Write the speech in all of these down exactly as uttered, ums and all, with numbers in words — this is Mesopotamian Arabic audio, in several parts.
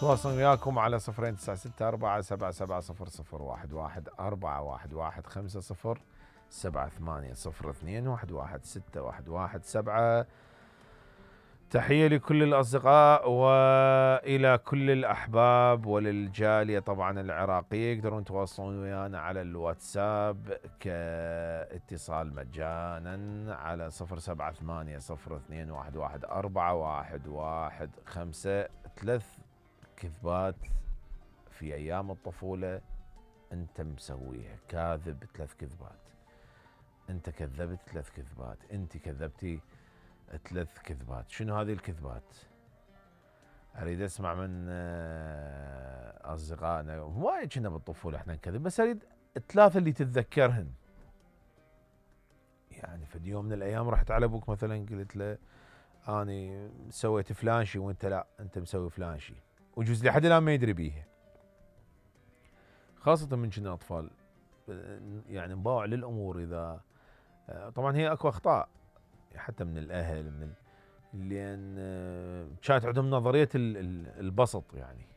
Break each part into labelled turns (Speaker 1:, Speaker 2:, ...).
Speaker 1: تواصل وياكم على صفرين تسعة ستة أربعة سبعة سبعة صفر صفر واحد واحد أربعة واحد واحد خمسة صفر سبعة ثمانية صفر اثنين واحد واحد ستة واحد واحد سبعة. تحية لكل الأصدقاء وإلى كل الأحباب وللجالية طبعا العراقية. يقدرون يتواصلون ويانا على الواتساب كاتصال مجانا على صفر سبعة ثمانية صفر اثنين واحد واحد أربعة واحد واحد خمسة. ثلاث كذبات في أيام الطفولة أنت مسويها، كاذب ثلاث كذبات، أنت كذبت ثلاث كذبات، أنت كذبتي ثلاث كذبات. شنو هذه الكذبات؟ أريد أسمع من أصدقائنا. وايد كنا بالطفولة إحنا نكذب، بس أريد الثلاثة اللي تتذكرهن. يعني في يوم من الأيام رحت على أبوك مثلا قلت له أني سويت فلان شيء وأنت لا، أنت مسوي فلان شيء، وجوز لحد الآن ما يدري بيها. خاصة من كنا أطفال يعني نباوع للأمور. إذا طبعا هي أكو أخطاء حتى من الأهل، من ال... لأن كانت عندهم نظرية البسط. يعني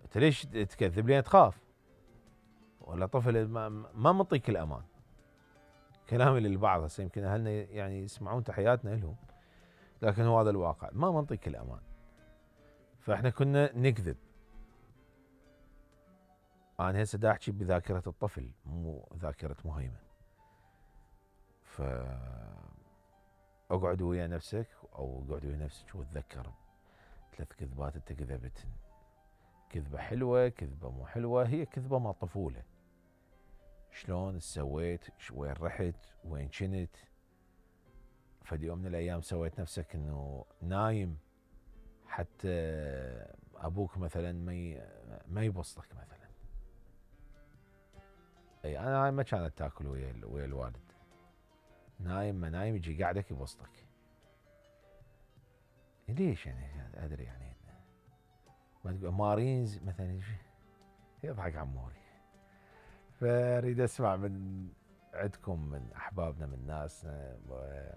Speaker 1: أنت ليش تكذب؟ لأن تخاف، ولا طفل ما, ما مطيك الأمان. كلامي للبعض هسه يمكن أهلنا يعني يسمعون تحياتنا لهم، لكن هو هذا الواقع، ما منطيك الأمان. فإحنا كنا نكذب. أنا هسه دا أحكي بذاكرة الطفل مو ذاكرة مهيمن. ف اقعد ويا نفسك او اقعد ويا نفسك وتذكر ثلاث كذبات انت كذبتن. كذبة حلوة، كذبة مو حلوة، هي كذبة مال طفولة. شلون سويت، وين رحت، وين كنت. فدي يوم من الايام سويت نفسك انه نايم حتى ابوك مثلا ما ما يبسطك مثلا. اي انا ما كانت تاكل ويا ويا الوالد. نايم ما نايم يجي قاعدك يبسطك. ليش يعني ادري يعني ما تقول مارينز مثلا يضحك عموري. فاريد اسمع من عندكم، من احبابنا، من ناسنا،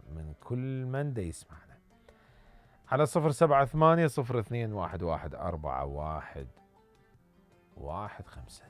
Speaker 1: من كل من دا يسمعنا على صفر سبعة ثمانية صفر اثنين واحد واحد أربعة واحد واحد خمسة.